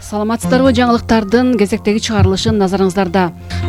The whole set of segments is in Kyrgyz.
Саламатсыздарбы, жаңылыктардын кезектеги чыгарылышын назарыңыздарда.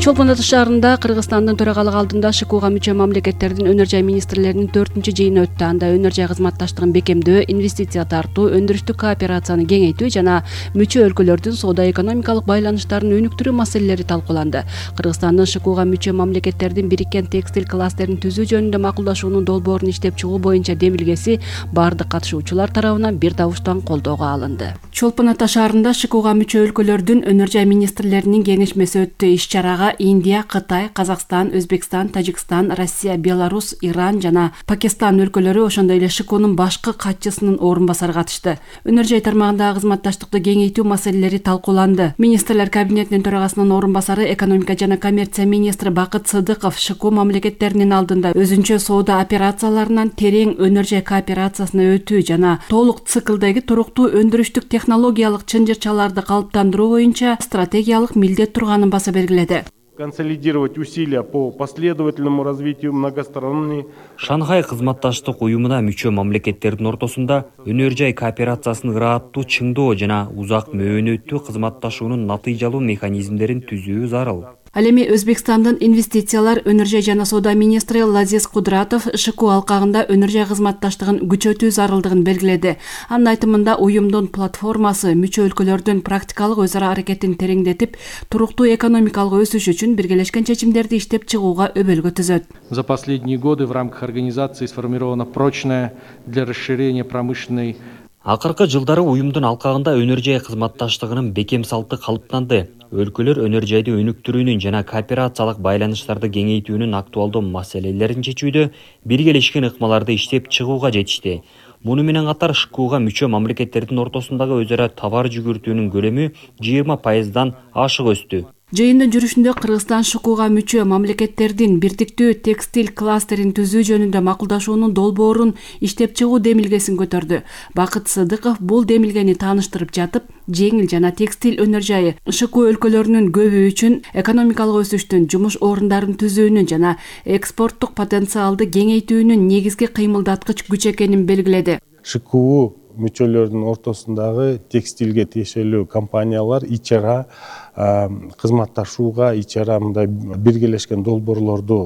Чолпон Ата шаарында Кыргызстандын төрагалыгы алдында ШКУга мүчө мамлекеттердин өнөр жай министрлеринин 4-жыйыны өттү. Анда өнөр жай кызматташтыгын бекемдөө, инвестиция тартуу, өндүрүштүк кооперацияны кеңейтүү жана мүчө өлкөлөрдүн соода-экономикалык байланыштарын өнүктүрүү маселелери талкууланды. Кыргызстандын ШКУга мүчө мамлекеттердин бириккен текстиль кластерин түзүү жөнүндө макулдашуунун долбоорун иштеп чыгуу боюнча демилгеси бардык катышуучулар тарабынан бир добуштан колдоого алынды. Чолпон Ата шаарында ШКУга мүчө өлкөлөрдүн өнөр жай министрлеринин кеңешмеси өттү. Иш-чарага Индия, Кытай, Казакстан, Өзбекстан, Тажикстан, Россия, Беларусь, Иран жана Пакистан өлкөлөрү, ошондой эле ШКУнун башкы катчысынын орун басары катышты. Өнөр жай тармагындагы кызматташтыкты кеңейтүү маселелери талкууланды. Министрлер кабинетинин төрагасынын орун басары, экономика жана коммерция министри Бакыт Сыдыков ШКУ мамлекеттеринин алдында өзүнчө соода операцияларынан терең өнөр жай кооперациясына өтүү жана толук циклдеги туруктуу өндүрүштүк технологиялык чынжырчаларды калыптандыруу боюнча стратегиялык милдет турганын баса бергиледи. Консолидировать усилия по последовательному развитию многосторонней. Шанхай кызматташтык уюмуна мүчө мамлекеттердин ортосунда өнөр жай кооперациясын ырааттуу чыңдоо жана узак мөөнөттүү кызматташуунун натыйжалуу механизмдерин түзүү зарыл. Ал эми Өзбекстандын инвестициялар, өнөр жай жана соода министри Лазиз Кудратов ШКУ алкагында өнөр жай кызматташтыгын күчөтүү зарылдыгын белгиледи. Анын айтымында уюмдун платформасы мүчө өлкөлөрдүн практикалык өз ара аракетин тереңдетип, туруктуу экономикалык өсүш үчүн биргелешкен чечимдерди иштеп чыгууга өбөлгө түзөт. За последние годы в рамках организации сформирована прочная для расширения промышленной. Акыркы жылдары уюмдун алкагында өнөр жай кызматташтыгынын бекем салты калыптанды. Өлкөлөр өнөр жайды өнүктүрүүнүн жана кооперациялык байланыштарды кеңейтүүнүн актуалдуу маселелерин чечүүдө биргелешкен ыкмаларды иштеп чыгууга жетишти. Муну менен катар ШКУга мүчө мамлекеттердин ортосундагы өз ара товар жүгүртүүнүн көлөмү 20%дан ашык өстү. Жыйындын жүрүшүндө Кыргызстан ШКУга мүчө мамлекеттердин бирдиктүү текстиль кластерин түзүү жөнүндө макулдашуунун долбоорун иштеп чыгуу демилгесин көтөрдү. Бакыт Сыдыков бул демилгени тааныштырып жатып, жеңил жана текстиль өнөр жайы ШКУ өлкөлөрүнүн көбү үчүн экономикалык өсүштүн, жумуш орундарын түзүүнүн жана экспорттук потенциалды кеңейтүүнүн негизги кыймылдаткыч күч экенин белгиледи. ШКУ мүчөлөрдүн ортосундагы текстилге тиешелүү компаниялар ичара кызматташууга, ичара мындай биргелешкен долбоорлорду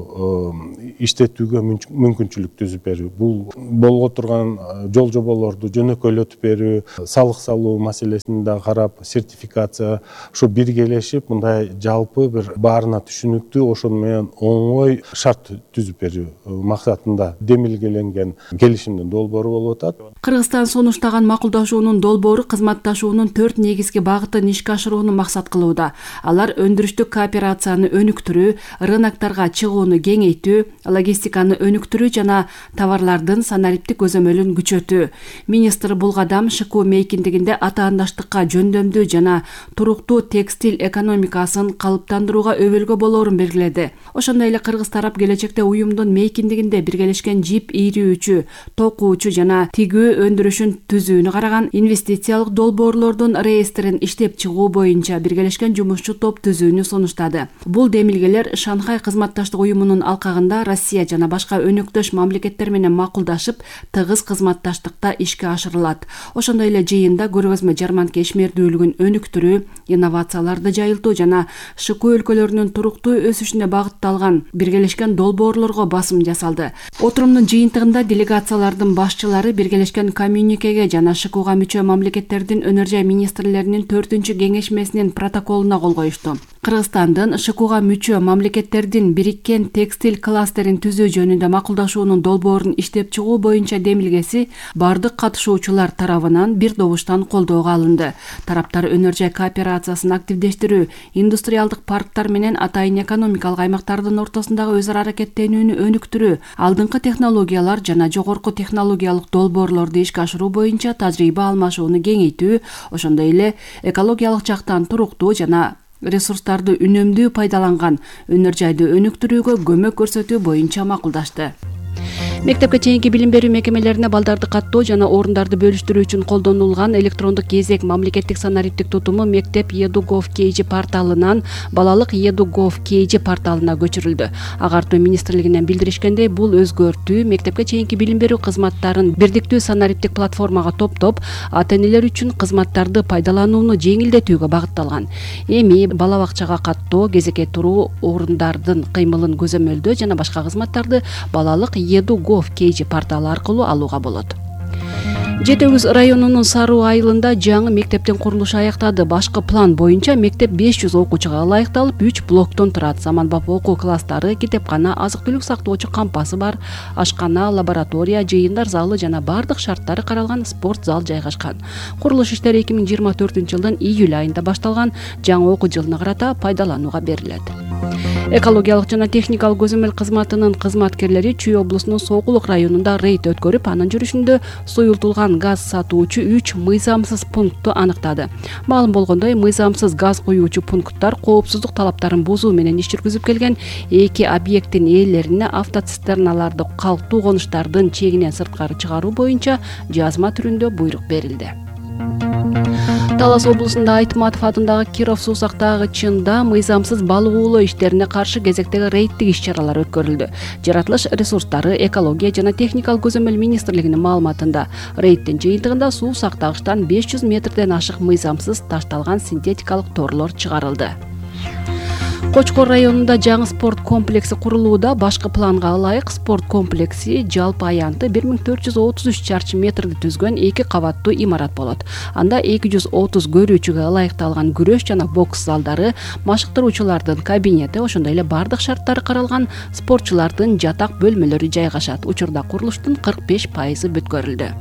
иштетүүгө мүмкүнчүлүк түзүп берүү. Бул болго турган жол жоболорду жөнөкөйлөтүп берүү, салык салуу маселесин да карап, сертификация ушу биргелешип, мындай жалпы бир баарына түшүнүктүү, ошону менен оңой шарт түзүп берүү максатында демилгеленген келишимдин долбоору болуп атат. Кыргызстан сунуштаган макулдашуунун долбоору кызматташуунун 4 негизги багытын ишке ашырууну максат кылууда. Алар өндүрүштүк кооперацияны өнүктүрүү, рынокторго чыгууну кеңейтүү, логистиканы өнүктүрүү жана товарлардын санариптик көзөмөлүн күчөтүү. Министр бул кадам ШКУ мейкиндигинде атаандаштыкка жөндөмдүү жана туруктуу текстиль экономикасын калыптандырууга өбөлгө болоорун белгиледи. Ошондой эле кыргыз тарап келечекте уюмдун мейкиндигинде биргелешкен жип ийрүүчү, токуучу жана тигүү өндүрүшүн түзүүнү караган инвестициялык долбоорлордун реестрин иштеп чыгуу боюнча биргелешкен жумушчу топ түзүүнү сунуштады. Бул демилгелер Шанхай кызматташтык уюмунун алкагында Россия жана башка өнөктөш мамлекеттер менен макулдашып, тыгыз кызматташтыкта ишке ашырылат. Ошондой эле жыйында көргөзмө жарманка ишмердүүлүгүн өнүктүрүү, инновацияларды жайылтуу жана ШКУ өлкөлөрүнүн туруктуу өсүшүнө багытталган биргелешкен долбоорлорго басым жасалды. Отурумдун жыйынтыгында делегациялардын башчылары биргелешкен коммюникеге жана ШКУга мүчө мамлекеттердин өнөр жай министрлеринин 4-кеңешмесинин протоколуна кол коюшту. Кыргызстандын ШКУга мүчө мамлекеттердин бириккен текстиль кластерин түзүү жөнүндө макулдашуунун долбоорун иштеп чыгуу боюнча демилгеси бардык катышуучулар тарабынан бир добуштан колдоого алынды. Тараптар өнөр жай кооперациясын активдештирүү, индустриалдык парктар менен атайын экономикалык аймактардын ортосундагы өз ара аракеттенүүнү өнүктүрүү, алдыңкы технологиялар жана жогорку технологиялык долбоорлорду ишке ашыруу боюнча тажрыйба алмашууну кеңейтүү, ошондой эле экологиялык жактан туруктуу жана ресурстарды үнөмдүү пайдаланган өнөр жайды өнүктүрүүгө көмөк көрсөтүү боюнча макулдашты. Мектепке чейинки билим берүү мекемелерине балдарды каттоо жана орундарды бөлүштүрүү үчүн колдонулган электрондук кезек мамлекеттик санариптик тутуму мектеп edu.gov.kg порталынан балалык edu.gov.kg порталына көчүрүлдү. Агартуу министрлигинен билдиришкендей, бул өзгөртүү мектепке чейинки билим берүү кызматтарын бирдиктүү санариптик платформага топтоп, ата-энелер үчүн кызматтарды пайдаланууну жеңилдетүүгө багытталган. Эми бала бакчага каттоо, кезекке туруу, орундардын кыймылын көзөмөлдөө жана башка кызматтарды балалык edu.gov.kg порталы аркылуу алууга болот. Жети Өгүз районунун Саруу айылында жаңы мектептин курулушу аяктады. Башкы план боюнча мектеп 500 окуучуга ылайыкталып, 3 блоктон турат. Заманбап окуу класстары, китепкана, азык-түлүк сактоочу кампасы бар, ашкана, лаборатория, жыйындар залы жана бардык шарттары каралган спорт зал жайгашкан. Курулуш иштери 2024-жылдын июль айында башталган. Жаңы окуу жылына карата пайдаланууга берилет. Экологиялык жана техникалык көзөмөл кызматынын кызматкерлери Чүй облусунун Сокулук районунда рейд өткөрүп, анын жүрүшүндө суюлтулган газ сатуучу 3 мыйзамсыз пунктту аныктады. Маалым болгондой, мыйзамсыз газ куюучу пункттар коопсуздук талаптарын бузуу менен иш жүргүзүп келген 2 объекттин ээлерине автоцистерналарды калктуу конуштардын чегинен сырткары чыгаруу боюнча жазма түрүндө буйрук берилди. Талас облусунда Айтматов атындагы Киров суу сактагычында мыйзамсыз балык уулоо иштерине каршы кезектеги рейдтик иш-чаралар өткөрүлдү. Жаратылыш ресурстары, экология жана техникалык көзөмөл министрлигинин маалыматында, рейдтин жыйынтыгында суу сактагычтан 500 метрден ашык мыйзамсыз ташталган синтетикалык торлор чыгарылды. Кочкор районунда жаңы спорт комплекси курулууда. Башкы планга ылайык спорт комплекси жалпы аянты 1433 чарчы метрди түзгөн 2 кабаттуу имарат болот. Анда 230 көрүүчүгө ылайыкталган күрөш жана бокс залдары, машыктыруучулардын кабинети, ошондой эле бардык шарттары каралган спортчулардын жатак бөлмөлөрү жайгашат. Учурда курулуштун 45% бүткөрүлдү.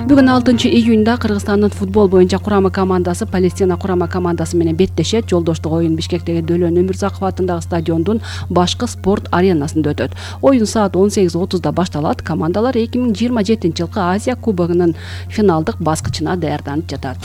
Бүгүн 6 июнда Кыргызстандын футбол боюнча курама командасы Палестина курама командасы менен беттешет. Жолдоштук оюн Бишкектеги Дөлөн Өмүрзаков атындагы стадиондун башкы спорт аренасында өтөт. Оюн саат 18:30 башталат. Командалар 2027-жылкы Азия кубогунун финалдык баскычына даярданып жатат.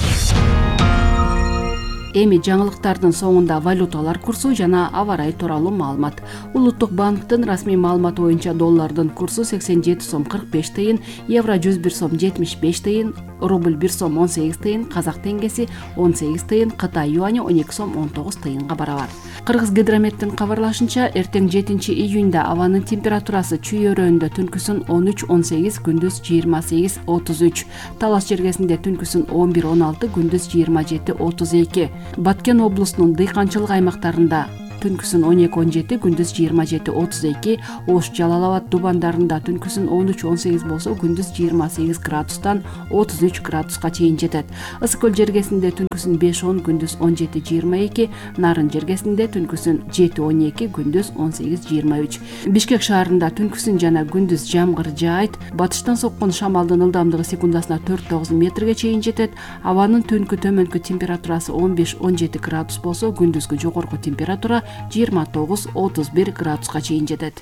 Эми жаңылыктардын соңунда валюталар курсу жана аба ырайы тууралуу маалымат. Улуттук банктын расмий маалыматы боюнча доллардын курсу 87 сом 45 тыйын, евро 101 сом 75 тыйын, рубль 1 сом 18 тыйын, казак теңгеси 18 тыйын, Кытай юани 12 сом 19 тыйынга барабар. Кыргыз гидрометтин кабарлашынча, эртең 7 июнда абанын температурасы Чүй өрөөнүндө түнкүсүн 13-18, күндүз 28-33, Талас жергесинде түнкүсүн 11-16, күндүз 27-32. Баткен облусунун дыйканчылык аймактарында түнкүсүн 12-17, күндүз 27-32, Ош, Жалал-Абад дубандарында түнкүсүн 13-18 болсо, күндүз 28 градустан 33 градуска чейин жетет. Ысык көл жергесинде түнкүсүн 5-10, күндүз 17-22, Нарын жергесинде түнкүсүн 7-12, күндүз 18-23. Бишкек шаарында түнкүсүн жана күндүз жамгыр жаайт. Батыштан соккон шамалдын ылдамдыгы секундасына 4-9 метрге чейин жетет. Абанын түнкү төмөнкү температурасы 15-17 градус болсо, күндүзгү жогорку температура 29-31 градуска чейин жетет.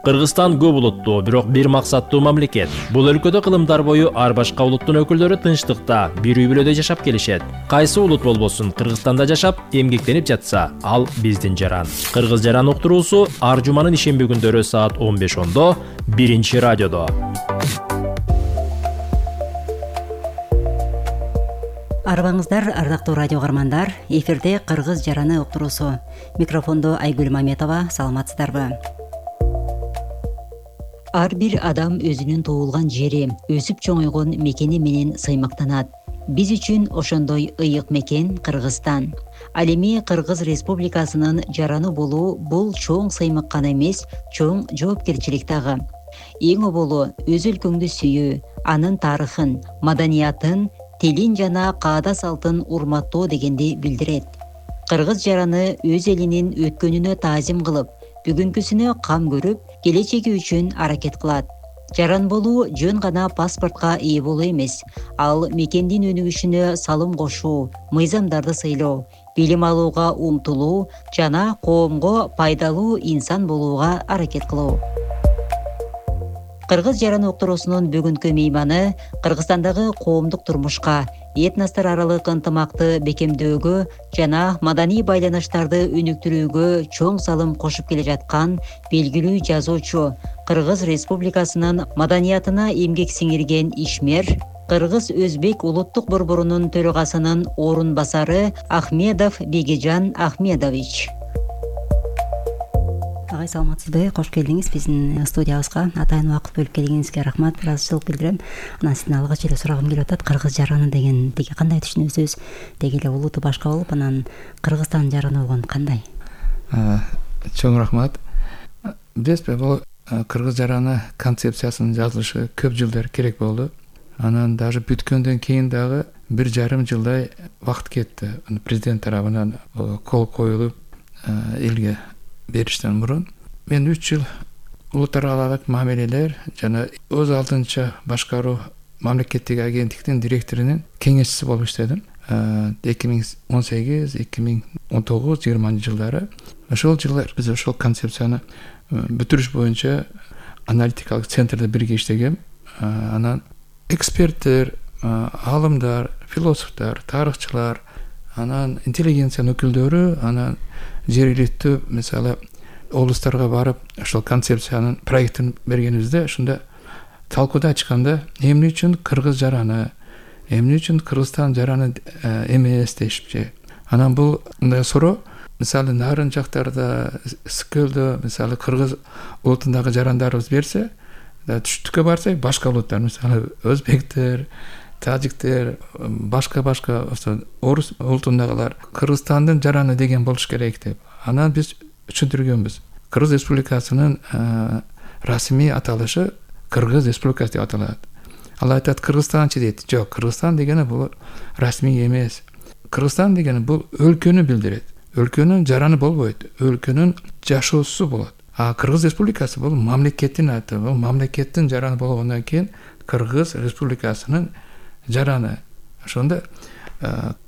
Кыргызстан көп улуттуу, бирок бир максаттуу мамлекет. Бул өлкөдө кылымдар бою ар башка улуттун өкүлдөрү тынчтыкта, бир үй-бүлөдө жашап келишет. Кайсы улут болбосун, Кыргызстанда жашап, эмгектенип жатса, ал биздин жаран. Кыргыз жаран уктуруусу ар жуманын ишемби күндөрү саат 15:10 биринчи радиодо. Арбаңыздар, ардактуу радио каармандар, эфирде Кыргыз жараны уктуруусу. Микрофондо Айгүл Маметова, саламатсыздарбы? Ар бир адам өзүнүн туулган жери, өсүп чоңойгон мекени менен сыймактанат. Биз үчүн ошондой ыйык мекен Кыргызстан. Ал эми Кыргыз Республикасынын жараны болуу бул чоң сыймык гана эмес, чоң жоопкерчилик дагы. Эң оболу өз өлкөңдү сүйүү, анын тарыхын, маданиятын, тилин жана каада салтын урматтоо дегенди билдирет. Кыргыз жараны өз элинин өткөнүнө таазим кылып, бүгүнкүсүнө кам көрүп, келечеги үчүн аракет кылат. Жаран болуу жөн гана паспортко ээ болуу эмес, ал мекендин өнүгүшүнө салым кошуу, мыйзамдарды сыйлоо, билим алууга умтулуу жана коомго пайдалуу инсан болууга аракет кылуу. Кыргыз жараны уктуруусунун бүгүнкү мейманы Кыргызстандагы коомдук турмушка, этностор аралык ынтымакты бекемдөөгө жана маданий байланыштарды өнүктүрүүгө чоң салым кошуп келе жаткан белгилүү жазуучу, Кыргыз Республикасынын маданиятына эмгек сиңирген ишмер, Кыргыз-Өзбек улуттук борборунун төрагасынын орун басары Ахмедов Бегижан Ахмедович. Агай, саламатсызбы? Кош келдиңиз биздин студиябызга. Атайын убакыт бөлүп келгениңизге рахмат, ыраазычылык билдирем. Анан сизден алгач эле сурагым келип атат. Кыргыз жараны деген деги кандай түшүнөсүз? Деги эле улуту башка болуп, анан Кыргызстан жараны болгон кандай? Чоң рахмат. Билесизби, бул Кыргыз жараны концепциясынын жазылышы көп жылдар керек болду. Анан даже бүткөндөн кийин дагы 1,5 жылдай вакыт кетти. Президент тарабынан кол коюлуп элге бериштен мурун. Мен 3 жыл улуттар аралык мамилелер жана өз алдынча башкаруу мамлекеттик агенттиктин директорунун кеңешчиси болуп иштедим. 2018, 2019, 20 жылдары. Ошол жылдар биз ошол концепцияны бүтүрүш боюнча аналитикалык центрде бирге иштегем. Анан эксперттер, алымдар, философтор, тарыхчылар, анан интеллигенциянын өкүлдөрү, анан жергиликтүү мисалы облустарга барып ошол концепциянын проектин бергенибизде ошондо талкууда ачканда эмне үчүн Кыргыз жараны, эмне үчүн Кыргызстан жараны эмес дешипчи. Анан бул мындай суроо мисалы нарын жактарда, Скөлдө мисалы Кыргыз улутундагы жарандарыбыз берсе, түштүккө барсак башка улуттар мисалы өзбектер, тажиктер, башка орус улутундагылар Кыргызстандын жараны деген болуш керек деп. Анан биз түшүндүргөнбүз. Кыргыз Республикасынын расмий аталышы Кыргыз Республикасы деп аталат. Ал айтат Кыргызстанчы дейт. Жок, Кыргызстан дегени бул расмий эмес. Кыргызстан дегени бул өлкөнү билдирет. Өлкөнүн жараны болбойт, өлкөнүн жашоосу болот. А Кыргыз Республикасы бул мамлекеттин аты, бул мамлекеттин жараны болгондон кийин Кыргыз Республикасынын жараны. Ошондо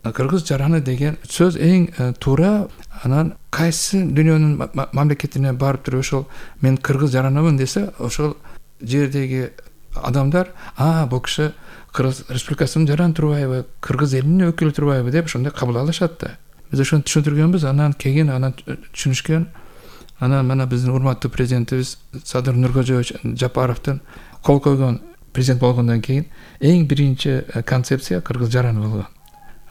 Кыргыз жараны деген сөз эң туура. Анан кайсы дүйнөнүн мамлекетине барып туруп ошол мен Кыргыз жаранымын десе, ошол жердеги адамдар бул киши Кыргыз Республикасынын жараны турбайбы, Кыргыз элинин өкүлү турбайбы деп ошондой кабыл алышат да. Биз ошону түшүндүргөнбүз, анан кийин түшүнүшкөн. Анан мына биздин урматтуу президентибиз Садыр Нуркожоевич Жапаровдун кол койгон президент болгондон кийин эң биринчи концепция Кыргыз жараны болгон.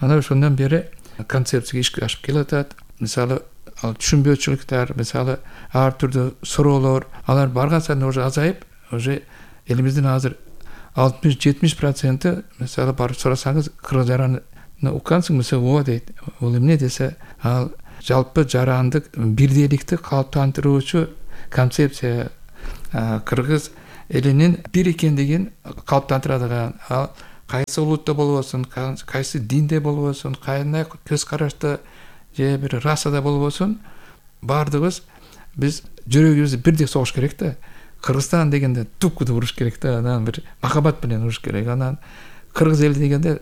Анан ошондон бери концепция ишке ашып келатат. Мисалы түшүнбөөчүлүктөр, мисалы ар түрдүү суроолор, алар барган сайын уже азайып, уже элимиздин азыр 60-70% мисалы барып сурасаңыз Кыргыз жараны уккансың мисалы ооба дейт. Бул эмне десе, ал жалпы жарандык бирдейликти калыптандыруучу концепция, Кыргыз элинин бир экендигин калыптандырadigan, ал кайсы улутта болбосун, кайсы динде болбосун, кандай көз карашта же бир расада болбосун, баардыгыбыз биз жүрөгүбүздү бирдей согуш керек да. Кыргызстан дегенде тупкуду уруш керек да, анан бир махабат менен уруш керек. Анан Кыргыз эли дегенде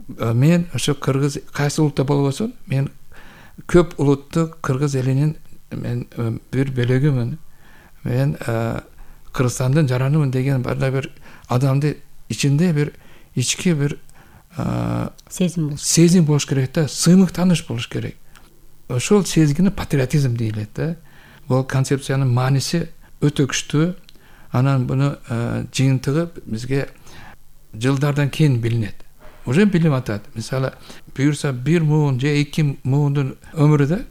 мен ошо Кыргыз кайсы улутта болбосун, мен көп улуттуу Кыргыз элинин мен бир бөлөгүмүн. Мен Кыргызстандын жаранымын деген бир адамды ичинде бир ички бир сезим болуш керек да, сыймык тааныш болуш керек. Ошол сезгини патриотизм дейлет да. Бул концепциянын мааниси өтө күчтүү. Анан буну жыйынтыгы бизге жылдардан кийин билинет. Уже билип атат. Мисалы, буюрса 1 муун же 2 муундун өмүрүдө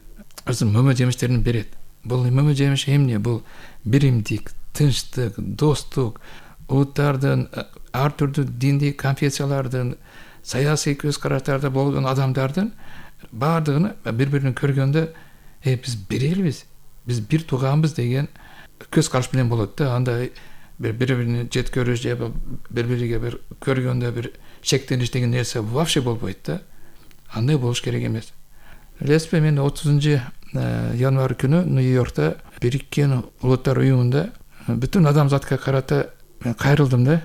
мөмө жемиштерин берет. Бул мөмө жемиш эмне? Бул биримдик, тынчтык, достук, улуттардын, ар түрдүү диндик конфессиялардын, саясий көз караштарда болгон адамдардын баардыгын бири-бирин көргөндө, биз бир элбиз, биз бир тууганбыз деген көз караш менен болот да. Анда бири-бирини жет көрүш же бири-бириге бир көргөндө бир шектениш деген нерсе вообще болбойт да. Андай болуш керек эмес. Билесизби, мен 30 январь күнү Нью-Йоркто Бириккен улуттар уюмунда бүтүн адамзатка карата мен кайрылдым да.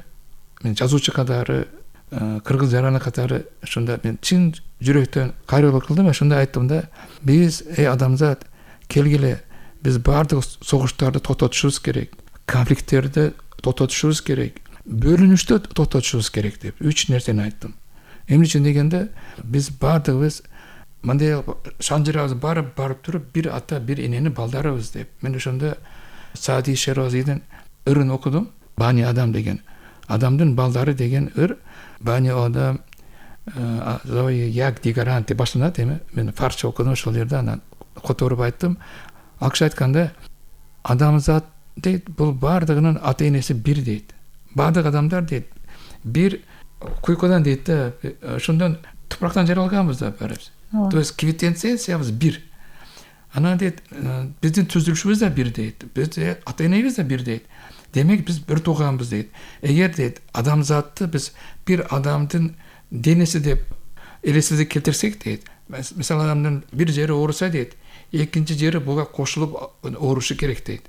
Мен жазуучу катары, Кыргыз жараны катары ошондо мен чын жүрөктөн кайрылык кылдым. Ошондо айттым да, биз адамзат келгиле, биз баардык согуштарды токтотушубуз керек. Конфликттерди токтотушубуз керек, бөлүнүштү токтотушубуз керек деп 3 нерсени айттым. Эмне үчүн дегенде биз баардыгыбыз мындай шанжырабыз барып туруп бир ата бир эненин балдарыбыз деп. Мен ошондо Саади Шеразидин ырын окудум. Бани Адам деген адамдын балдары деген ыр. Бани Адам як дигаран деп башталат эми. Мен фарсча окудум ошол жерде, анан которуп айттым. Ал киши айтканда адамзат дейт, бул баардыгынын ата энеси бир дейт. Баардык адамдар дейт бир куйкадан дейт да, ошондон тупурактан жаралганбыз да баарыбыз. То есть квинтэссенциябыз бир. Анан дейт биздин түзүлүшүбүз да бир дейт. Биздин ата энебиз да бир дейт. Демек биз бир тууганбыз дейт. Эгер дейт адамзатты биз бир адамдын денеси деп элестетип келтирсек дейт. Мисалы адамдын бир жери ооруса дейт, экинчи жери буга кошулуп оорушу керек дейт.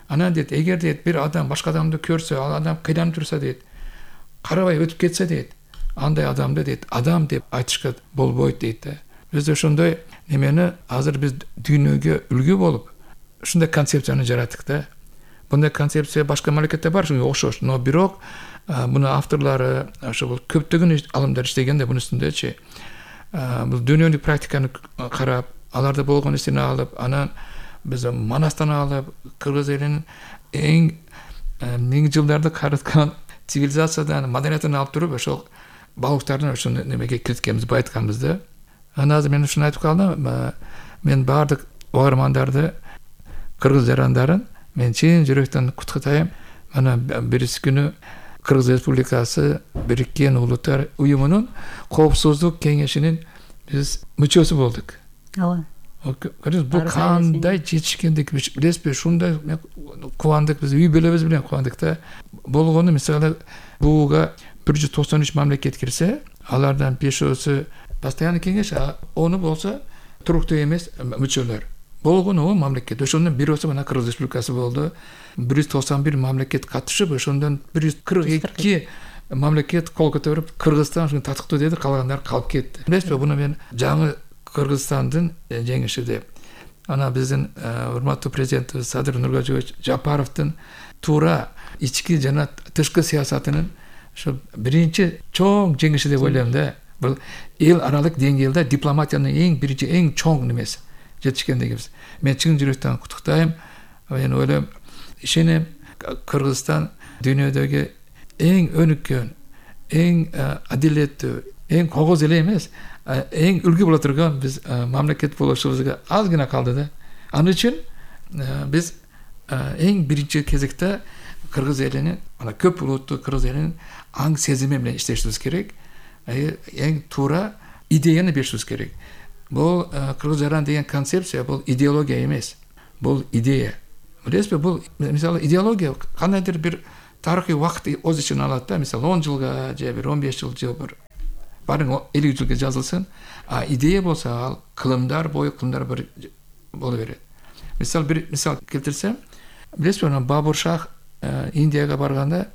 Анан дейт эгер дейт бир адам башка адамды көрсө, ал адам кыйланып турса дейт, карабай өтүп кетсе дейт, андай адамды дейт адам деп айтышка болбойт дейт да. Биз ошондой немени азыр биз дүйнөгө үлгү болуп ушундай концепцияны жараттык да. Bunday kontsepsiya boshqa mamlakatda bor, shunga o'xshash. No, biroq buni avtorlari o'sha ko'pgina olimlar ishlaganda buni ustundachi. Bu dunyoning praktikani qarab, alarda bo'lgan ishni olib, ana biz Manasdan olib, Qirg'iz elining eng ming yillarda qaratgan sivilizatsiyadan, madaniyatini olib turib, o'sha baliqlarni o'sha nimaga kiritganmiz, bu aytganmizda. Ana hozir men shuni aytib qoldim. Men barliq o'g'irmandarni, Qirg'iz jarandарын men chin yurakdan qutlataym. Mana birisi kuni Qirg'iz Respublikasi Birikkan Ulutlar uyumunun Qovsuzluk Kengesinin biz müçösü bulduk. Ала. Bu qanday жетишкендик билесизби? Шундай кубандык, биз үй бүлөбүз менен кубандык да. Болгону мисалы буга 193 мамлекет кирсе, алардан 5-өсү постоянный кеңеш, onu болсо туруктуу эмес мүчөлөр. Болгону о мамлекет. Ошондон бирөөсү мына Кыргыз Республикасы болду. 191 мамлекет катышып, ошондон 142 мамлекет кол көтөрүп, Кыргызстан ушуну татыктуу деди, калгандар калып кетти. Билесизби, буну мен жаңы Кыргызстандын жеңиши деп. Ана биздин урматтуу президентибиз Садыр Нургажиевич Жапаровдун туура ички жана тышкы саясатынын ошо биринчи чоң жеңиши деп ойлойм да. Бул эл аралык деңгээлде дипломатиянын эң биринчи, эң чоң немеси жетишкендигибиз. Мен чын жүрөктөн куттуктайм. Мен ойлойм, ишенем, Кыргызстан дүйнөдөгү эң өнүккөн, эң адилеттүү, эң когоз эле эмес, эң үлгү боло турган биз мамлекет болушубузга аз гана калды да. Ал үчүн биз эң биринчи кезекте Кыргыз элинин, ана көп улуттуу Кыргыз элинин аң сезими менен иштешибиз керек. Эң туура идеяны беришибиз керек. Бул Кыргыз жаран деген концепция, бул идеология эмес. Бул идея. Билесизби, бул мисалы идеология кандайдыр бир тарыхый убакыт өз ичине алат да. Мисалы 10 жылга же бир 15 жыл бир барын 50 жылга жазылсын. А идея болсо ал кылымдар бою кылымдар бир боло берет. Мисал бир мисал келтирсем, билесизби, Бабур Шах Индияга барганда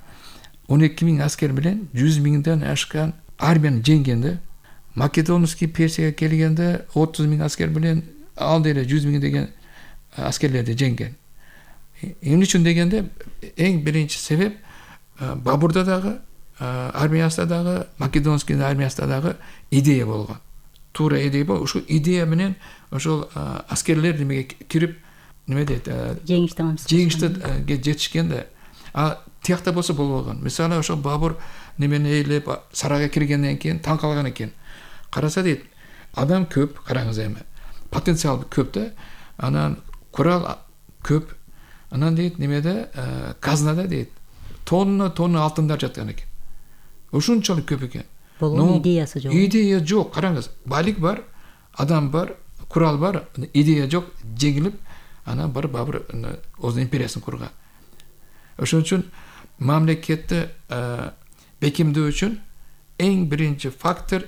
12.000 аскер менен 100.000ден ашкан армияны жеңген да. Македонский Персияга келгенде 30.000 аскер менен ал деле 100.000 деген аскерлерди жеңген. Эмне үчүн дегенде эң биринчи себеп Бабурда дагы армиясында дагы, Македонский армиясында дагы идея болгон. Туура идея бол. Ушул идея менен ошол аскерлер немеге кирип, неме дейт, жеңиште жетишкен да. А тиякта болсо болбогон. Мисалы ошол Бабур немени эйлеп сарайга киргенден кийин таң калган экен. Караса дейт, адам көп, караңыз эми. Потенциал көп да. Анан курал көп. Анан дейт, немеде казнада дейт, тонна алтындар жаткан экен. Ушунчалык көп экен. Болгон идеясы жок. Идея жок. Караңыз, байлык бар, адам бар, курал бар, идея жок, жеңилип, анан барып Бабур өзүнүн империясын курган. Ошон үчүн мамлекетти бекемдөө үчүн эң биринчи фактор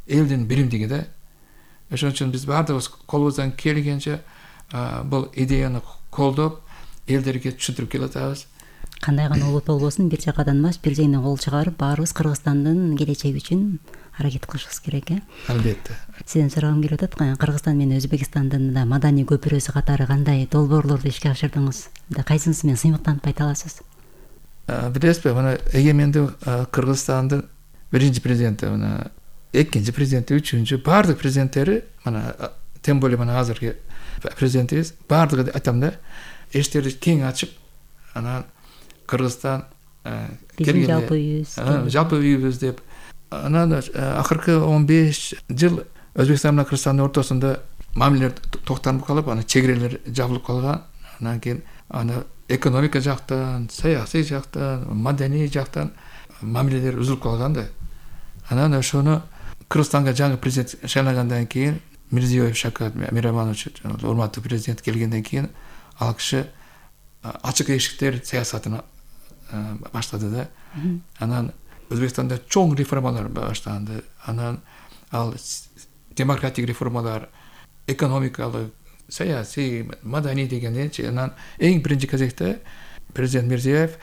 элдин биримдиги да. Ошон үчүн биз баардыгыбыз колубуздан келгенче бул идеяны колдоп, элдерге түшүндүрүп келатабыз. Кандай гана улут болбосун, бир жакадан эмес, бир жеңден кол чыгарып, баарыбыз Кыргызстандын келечеги үчүн аракет кылышыбыз керек, Албетте. Сизден сурагым келип атат, Кыргызстан менен Өзбекстандын да маданий көпүрөсү катары кандай долбоорлорду ишке ашырдыңыз? Кайсынысы менен сыймыктанып айта аласыз? билесизби, мына эгемендүү Кыргызстандын биринчи президенти, мына экинчи президенти, үчүнчү баардык президенттери, мына тем более мына азыркы президентибиз баардыгы айтам да, эштерди кең ачып, анан Кыргызстан биздин жалпы үйүбүз деп. Анан акыркы 15 жыл Өзбекстан менен Кыргызстандын ортосунда мамилелер токтонуп калып, анан чегерелер жабылып калган. Анан кийин экономика жактан, саясий жактан, маданий жактан мамилелер үзүлүп калган да. Анан ошону Кыргызстанга жаңы президент шайлангандан кийин Мирзиёев Шавкат Миромонович, урматтуу президент келгенден кийин ал киши ачык эшиктер саясатын баштады да. Анан Өзбекстанда чоң реформалар башталды. Анан ал демократик реформалар, экономикалык, саясий, маданий дегенчи, анан эң биринчи кезекте президент Мирзиёев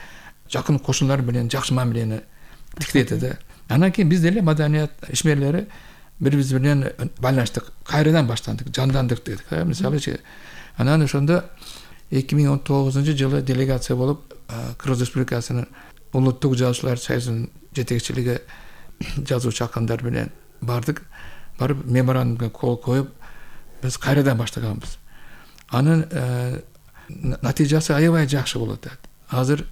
жакын кошуналар менен жакшы мамилени тиктеди да. Анан кийин биз деле маданият ишмерлери бири-биз менен байланыштык, кайрадан баштандык, жандандык дедик. Мисалы, анан ошондо 2019-жылы делегация болуп Кыргыз Республикасынын улуттук жазуучулар союзунун жетекчилиги жазуучу акындар менен бардык. Барып меморандумга кол коюп, биз кайрадан баштаганбыз. Анын натыйжасы аябай жакшы болот. Азыр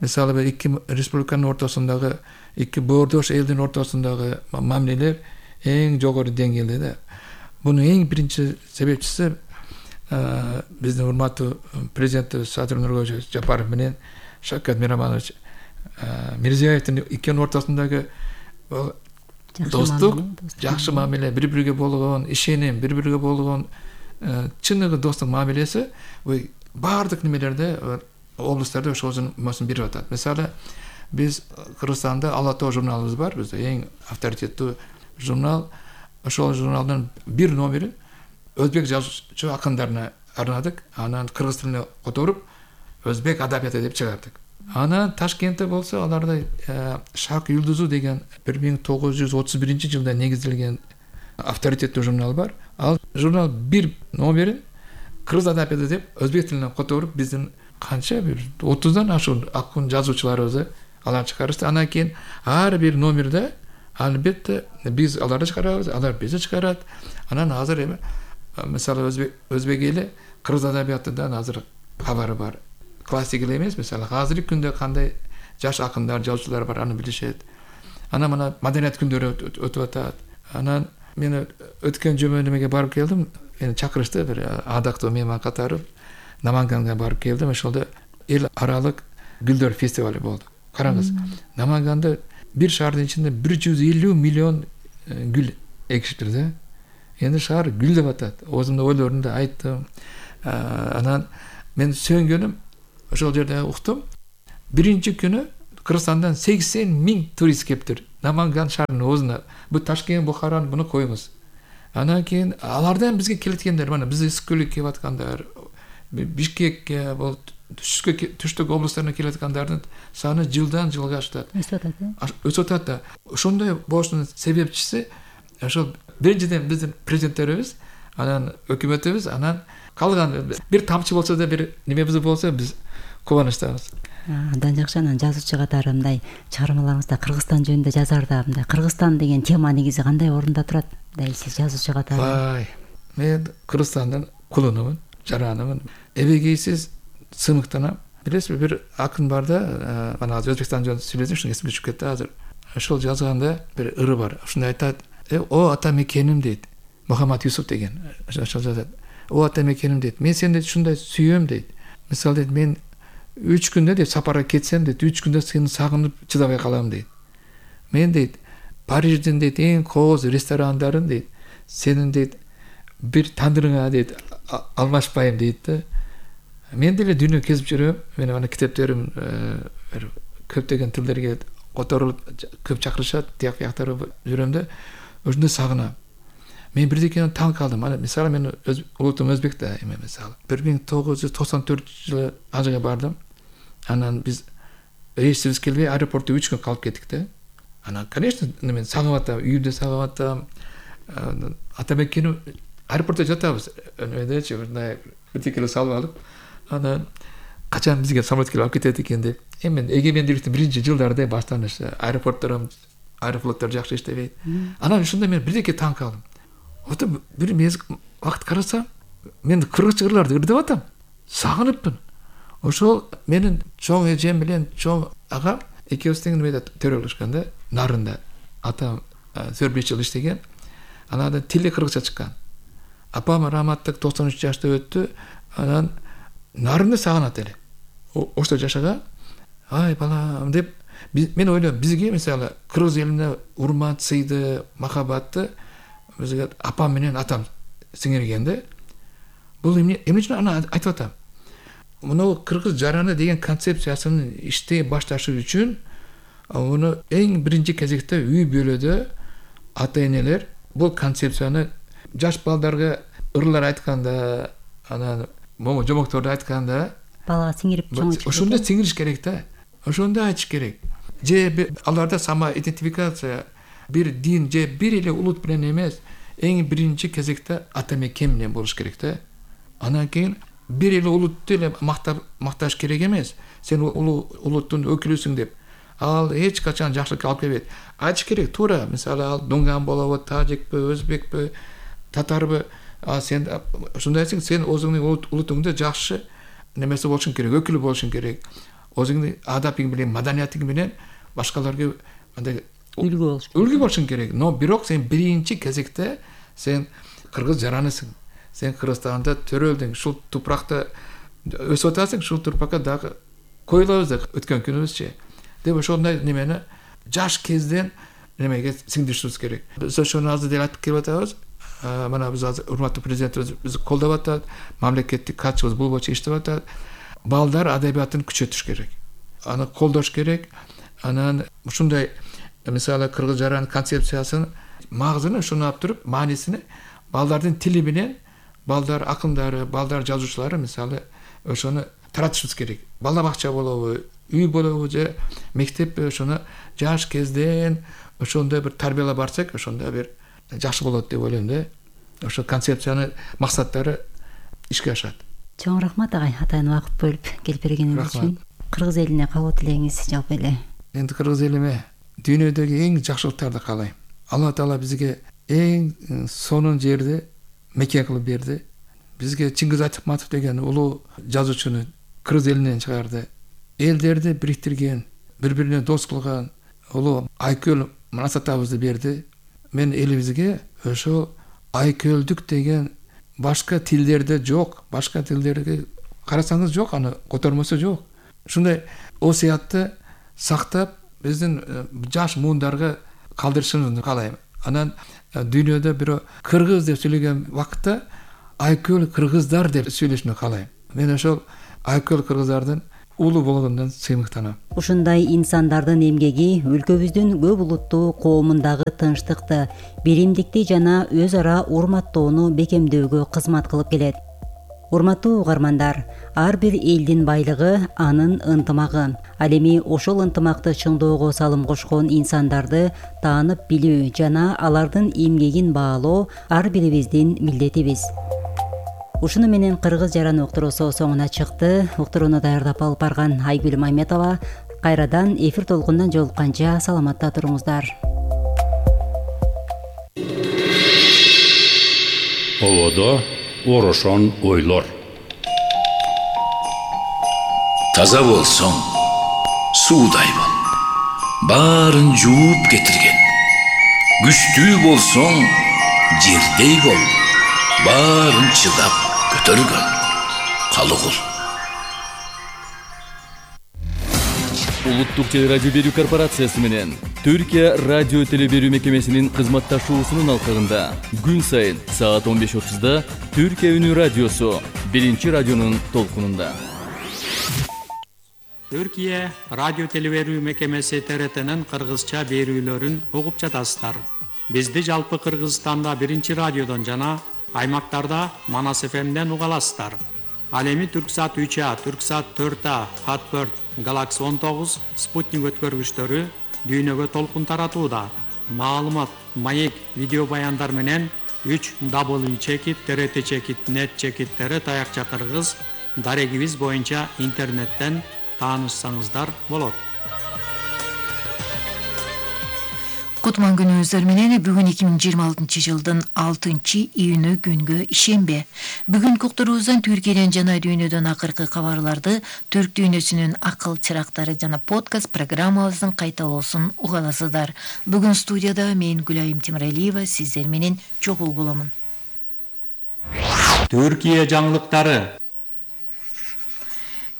мисалы эки республиканын ортосундагы, эки боордош элдин ортосундагы мамилелер эң жогору деңгээлде да. Мунун эң биринчи себепчиси биздин урматтуу президентибиз Садыр Нуркожоевич Жапаров менен Шавкат Миромонович Мирзиёевдин экөөнүн ортосундагы достук, жакшы мамиле, бири-бириге болгон ишеним, бири-бириге болгон чыныгы достук мамилеси баардык немелерде, облустарда ошол масын берип атат. Мисалы, биз Кыргызстанда Ала Тоо журналыбыз бар, бизде эң авторитеттүү журнал. Ошол журналдын бир номерин өзбек жазуучу акындарына арнадык. Анан кыргыз тилине которуп, өзбек адабияты деп чыгардык. Анан Ташкентте болсо, аларда Шак Юлдузу деген 1931-жылда негизделген авторитеттүү журнал бар. Ал журнал бир номерин кыргыз адабияты деп өзбек тилине которуп, биздин канча бир 30дан ашуун акын жазуучуларыбызды алар чыгарышты. Анан кийин ар бир номерде албетте биз аларды чыгарабыз, алар бизди чыгарат. Анан азыр эми мисалы өзбек эли кыргыз адабиятынан азыр кабары бар. Классик эле эмес, мисалы азыркы күндө кандай жаш акындар, жазуучулар бар, аны билишет. Анан мына маданият күндөрү өтүп атат. Анан мен өткөн жума немеге барып келдим. Мени чакырышты бир адактуу мейман катары. Наманганга барып келдим. Ошолдо эл аралык гүлдөр фестивали болду. Караңыз, Наманганда бир шаардын ичинде 150 миллион гүл экишиптир да. Эndi шаар гүлдөп атат. Өзүмдүн ойлорумду айттым. Анан мен сөнгөнүм ошол жерде уктум. Биринчи күнү Кыргызстандан 80 000 турист кептир. Наманган шаарынын өзүнө. Бу Ташкент, Бухараны буну коюңуз. Анан кийин алардан бизге келеткендер, мына биз Ысыккөлгө келип аткандар, Бишкекке, бул түштүк облустарына келип аткандардын саны жылдан жылга өсүп атат да. Ошондой болушунун себепчиси ошол биринчиден биздин президенттерибиз, анан өкмөтүбүз, анан калган бир тамчы болсо да бир немебиз болсо биз кубанычтабыз. Андан жакшы, анан жазуучу катары мындай чыгармаларыңызда Кыргызстан жөнүндө жазарда мындай Кыргызстан деген тема негизи кандай орунда турат? Мындай сиз жазуучу катары. Мен Кыргызстандын кулунумун, жаранымын. Эбегейсиз сымыктанам. Билесизби, бир акын бар да, мына азыр Өзбекстан жөнүндө сүйлөдүм, шуну эсимде чыгып кетти азыр. Ошол жазганда бир ыры бар. Ушундай айтат: "О ата мекеним" дейт. Мухаммад Юсуп деген ошол жазат. "О ата мекеним" дейт. "Мен сени ушундай сүйөм" дейт. Мисалы дейт, "Мен 3 күндө дейт сапарга кетсем дейт, 3 күндө сени сагынып чыдабай калам" дейт. "Мен дейт Париждин дейт эң кооз ресторандарын дейт, сенин дейт бир тандырыңа дейт алмашпайм" дейт да. Мен деле дүйнө кезип жүрөм. Мен ана китептерим көптөгөн тилдерге которулуп көп чакырышат, тияк бияктары жүрөм да. Ошондо сагынам. Мен бирдекени таң калдым. Ана мисалы мен улутум өзбек да, эми мисалы 1994-жылы Ажыга бардым. Анан биз рейсибиз келбей аэропортто 3 күн калып кеттик да. Анан конечно мен сагынып атам, үйүмдү сагынып атам. Ата мекеним аэропортто жатабыз. Өйдечи мындай бирдекени салып алып, анан качан бизге самолет келип алып кетет экен деп. Эми эгемендүүлүктүн биринчи жылдарында баштаныш аэрофлоттор жакшы иштебейт. Анан ушунда мен бирдеке таң калдым. Ото бир вакыт карасам, мен кыргызча ырларды ырдап атам. Сагыныппын. Ошол менин чоң эжем менен чоң агам экөөбүз тең немеде төрөлүшкөн да, Нарында. Атам 4-5 жыл иштеген. Анан тили кыргызча чыккан. Апам раматтык 93 жашта өттү. Анан Нарында сагынат эле. Ошто жашаган. Ай балам деп мен ойлойм, бизге мисалы кыргыз элине урмат, сыйды, махабатты бизге апам менен атам сиңирген да. Бул эмне үчүн аны айтып атам. Муну кыргыз жараны деген концепциясын иштей башташы үчүн муну эң биринчи кезекте үй бүлөдө ата-энелер бул концепцияны жаш балдарга ырлар айтканда, анан момо жомокторду айтканда балага сиңирип чоңойтуш. Ошондо сиңириш керек да. Ошондо айтыш керек. Же аларда сама идентификация, бир дин же бир эле улут менен эмес, эң биринчи кезекте ата мекен менен болуш керек да. Анан кийин бир эле улутту эле макташ керек эмес. Сен улуттун өкүлүсүң деп. Ал эч качан жакшылыкка алып келбейт. Айтыш керек туура. Мисалы ал дунган болобу, тажикпи, өзбекпи, татарбы, сен ушундайсың, сен өзүңдүн улутуңда жакшы немеси болушуң керек, өкүлү болушуң керек. Өзүңдүн адабың менен, маданиятың менен башкаларга андай үлгү болушуң керек. Но бирок сен биринчи кезекте сен кыргыз жаранысың. Сен Кыргызстанда төрөлдүң, ушул тупракта өсүп атасың, ушул тупракка дагы коюлабыз да өткөн күнүбүзчө. Деп ошондой немени жаш кезден немеге сиңдиришибиз керек. Биз ошону азыр деле айтып келип атабыз. Мына биз азыр урматтуу президентибиз бизди колдоп атат, мамлекеттик катчыбыз бул боюнча иштеп атат. Балдар адабиятын күчөтүш керек. Аны колдош керек. Анан ушундай мисалы кыргыз жаран концепциясын магызын ушуну алып туруп, маанисин балдардын тили менен балдар акындары, балдар жазуучулары мисалы ошону таратышыбыз керек. Бала бакча болобу, үй болобу же мектеппи, ошону жаш кезден ошондой бир тарбиялап барсак, ошондо бир жакшы болот деп ойлойм да. Ошо концепцияны максаттары ишке ашат. Чоң рахмат агай, атайын убакыт бөлүп келип бергениңиз үчүн. Кыргыз элине кабыл тилегиңиз жалпы эле. Энд кыргыз элиме дүйнөдөгү эң жакшылыктарды каалайм. Алла Таала бизге эң сонун жерди мекен кылып берди. Бизге Чингиз Айтматов деген улуу жазуучуну кыргыз элинен чыгарды. Элдерди бириктирген, бири-бирине дос кылган улуу Айкөл Манасатабызды берди. Мен элибизге ошол айкөлдүк деген башка тилдерде жок, башка тилдерге карасаңыз жок, аны котормосу жок. Ушундай осуятты сактап, биздин жаш муундарга калдырышыбызды каалайм. Анан дүйнөдө бирөө кыргыз деп сүйлөгөн вакытта айкөл кыргыздар деп сүйлөшүнү каалайм. Мен ошол айкөл кыргыздардын улуу болгондон сыймыктанам. Ушундай инсандардын эмгеги өлкөбүздүн көп улуттуу коомундагы тынчтыкты, биримдикти жана өз ара урматтоону бекемдөөгө кызмат кылып келет. Урматтуу угармандар, ар бир элдин байлыгы анын ынтымагы. Ал эми ошол ынтымакты чыңдоого салым кошкон инсандарды таанып билүү жана алардын эмгегин баалоо ар бирибиздин милдетибиз. Ушуну менен кыргыз жаран уктуруусу соңуна чыкты. Уктурууну даярдап алып барган Айгүл Майметова. Кайрадан эфир толкундан жолукканча саламатта туруңуздар. Ободо орошон ойлор. Таза болсоң, суудай бол. Баарын жууп кетирген. Күчтүү болсоң, жердей бол. Баарын чыдап көтөргөн. Калыгул. Улуттук телерадио берүү корпорациясы менен Түркия радио теле берүү мекемесинин кызматташуусунун алкагында күн сайын саат 15:30 Түркия үнү радиосу биринчи радионун толкунунда. Түркия радио теле берүү мекемеси ТРТнын кыргызча берүүлөрүн угуп жатасыздар. Бизди жалпы Кыргызстанда биринчи радиодон жана аймактарда Манас ФМден уга аласыздар. Ал эми Түрксат 3А, Түрксат 4А, Хатберт, Galaxy 19, Спутник өткөргүчтөрү дүйнөгө толкун таратууда. Маалымат, маек, видео баяндар менен 3W чекит, TRT чекит, net чекиттери таякча кыргыз дарегибиз боюнча интернеттен таанышсаңыздар болот. Кутман күнүңүздөр менен бүгүн 2026 жылдын 6-июнү күнгө ишембе. Бүгүн уктуруубуздан Түркияден жана дүйнөдөн акыркы кабарларды, Түрк дүйнөсүнүн акыл чырактары жана подкаст программабыздын кайталоосун уга аласыздар. Бүгүн студияда мен Гүлайым Темиралиева сиздер менен чогуу боломун. Түркия жаңылыктары.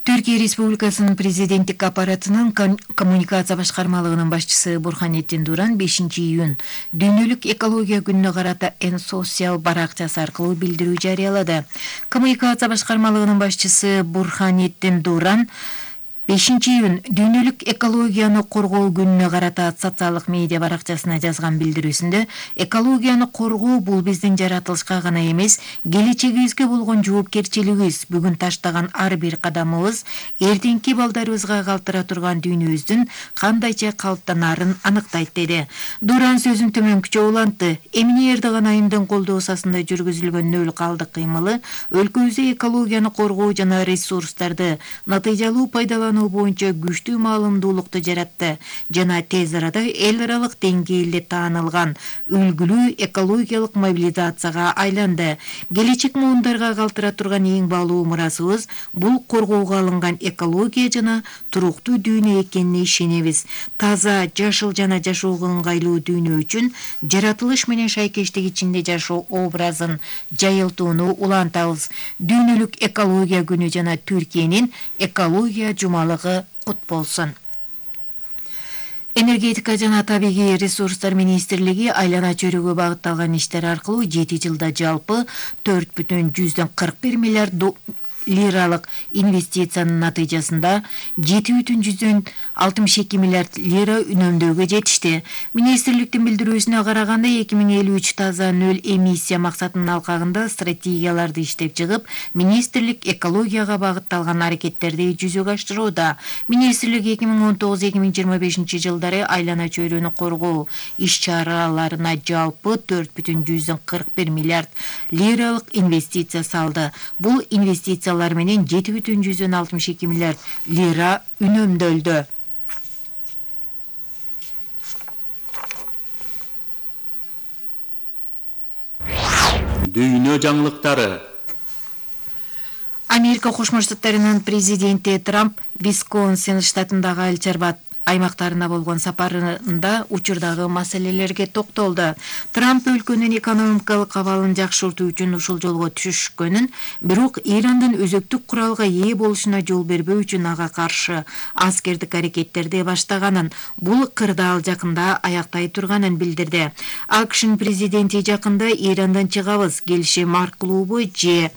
Түркия Республикасынын президенттик аппаратынын коммуникация башкармалыгынын башчысы Бурханеттин Дуран 5-июнь дүйнөлүк экология күнүнө карата Social баракчасы аркылуу билдирүү жарыялады. Коммуникация башкармалыгынын башчысы Бурханеттин Дуран 5-июнь дүйнөлүк экологияны коргоо күнүнө карата социалдык медиа баракчасына жазган билдирүүсүндө экологияны коргоо бул биздин жаратылышка гана эмес, келечегибизге болгон жоопкерчилигибиз, бүгүн таштаган ар бир кадамыбыз эртеңки балдарыбызга калтыра турган дүйнөбүздүн кандайча калыптанарын аныктайт деди. Дуран сөзүн төмөнкүчө улантты. Эмне Эрдоган айымдын колдоосу астында жүргүзүлгөн нөл калдык кыймылы өлкөбүздө экологияны коргоо жана ресурстарды натыйжалуу пайдалануу боюнча күчтүү маалымдуулукту жаратты жана тез арада эл аралык деңгээлде таанылган үлгүлүү экологиялык мобилизацияга айланды. Келечек муундарга калтыра турган эң баалуу мурасыбыз бул коргоого алынган экология жана туруктуу дүйнө экенине ишенебиз. Таза, жашыл жана жашоого ыңгайлуу дүйнө үчүн жаратылыш менен шайкештик ичинде жашоо образын жайылтууну улантабыз. Дүйнөлүк экология күнү жана Түркиянын экология жумалыгы кут болсун. Энергетика жана табигый ресурстар министрлиги айлана чөйрөгө багытталган иштер аркылуу 7 жылда жалпы 4,41 миллиард лиралык инвестициянын натыйжасында 7,62 миллиард лира үнөмдөөгө жетишти. Министрликтин билдирүүсүнө караганда 2053 таза нөл эмиссия максатынын алкагында стратегияларды иштеп чыгып, министрлик экологияга багытталган аракеттерди жүзөгө ашырууда. Министрлик 2019-2025 жылдары айлана чөйрөнү коргоо иш-чараларына жалпы 4,41 миллиард лиралык инвестиция салды. Бул инвестициялар менен 7,62 миллиард лира үнөмдөлдү. Дүйнө жаңылыктары. Америка Кошмо Штаттарынын президенти Трамп Висконсин штатындагы Айыл-чарба аймактарына болгон сапарында учурдагы маселелерге токтолду. Трамп өлкөнүн экономикалык абалын жакшыртуу үчүн ушул жолго түшкөнүн, бирок Ирандын өзөктүк куралга ээ болушуна жол бербөө үчүн ага каршы аскердик аракеттерди баштаганын, бул кырдаал жакында аяктай турганын билдирди. АКШнын президенти жакында Ирандан чыгабыз, келишим аркылуубу же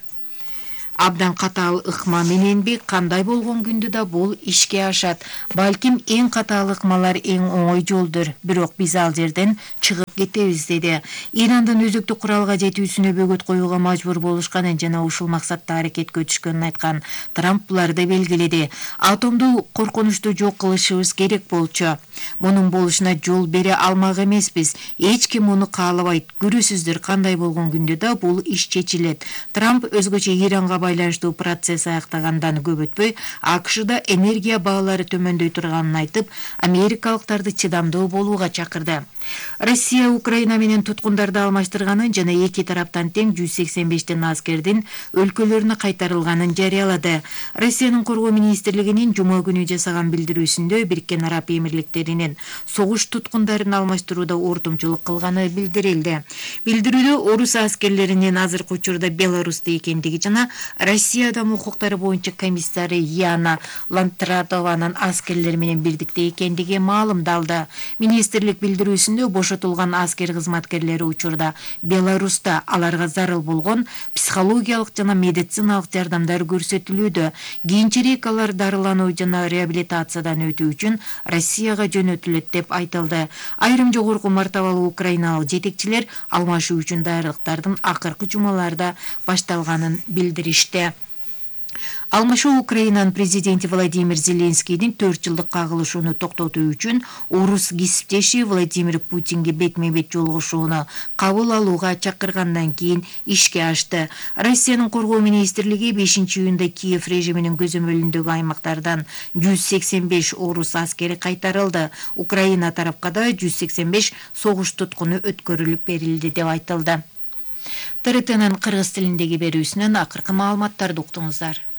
абдан катаал ыкма мененби, кандай болгон күндө да бул ишке ашат. Балким эң катаал ыкмалар эң оңой жолдур, бирок биз ал жерден чыгып кетебиз деди. Ирандын өзөктүк куралга жетүүсүнө бөгөт коюуга мажбур болушканын жана ушул максатта аракетке өтүшкөнүн айткан Трамп буларды белгиледи. Атомдуу коркунучту жок кылышыбыз керек болчу. Мунун болушуна жол бере алмак эмеспиз. Эч ким муну каалабайт. Көрөсүздөр, кандай болгон күндө да бул иш чечилет. Трамп өзгөчө Иранга байланыштуу процесс аяктагандан көп өтпөй, АКШда энергия баалары төмөндөй турганын айтып, америкалыктарды чыдамдуу болууга чакырды. Россия Украина менен туткундарды алмаштырганын жана эки тараптан тең 185 аскердин өлкөлөрүнө кайтарылганын жарыялады. Россиянын коргоо министрлигинин жума күнү жасаган билдирүүсүндө Бириккен Араб Эмирликтеринин согуш туткундарын алмаштырууда ортомчулук кылганы билдирилди. Билдирүүдө орус аскерлеринин азыркы учурда Беларусьта экендиги жана Россия адам укуктары боюнча комиссары Яна Лантрадованын аскерлер менен бирдикте экендиги маалымдалды. Министрлик билдирүүсүндө бошотулган аскер кызматкерлери учурда Беларуста аларга зарыл болгон психологиялык жана медициналык жардамдар көрсөтүлүүдө. Кийинчерээк алар дарылануу жана реабилитациядан өтүү үчүн Россияга жөнөтүлөт деп айтылды. Айрым жогорку мартабалуу украиналык жетекчилер алмашуу үчүн даярдыктардын акыркы жумаларда башталганын билдиришти. Алмашуу Украинанын президенти Владимир Зеленскийдин 4 жылдык кагылышууну токтотуу үчүн орус кесиптеши Владимир Путинге бетме-бет жолугушууну кабыл алууга чакыргандан кийин ишке ашты. Россиянын коргоо министрлиги 5-июнда Киев режиминин көзөмөлүндөгү аймактардан 185 орус аскери кайтарылды. Украина тарапка да 185 согуш туткуну өткөрүлүп берилди деп айтылды. ТРТнын кыргыз тилиндеги берүүсүнөн акыркы маалыматтарды уктуңуздар.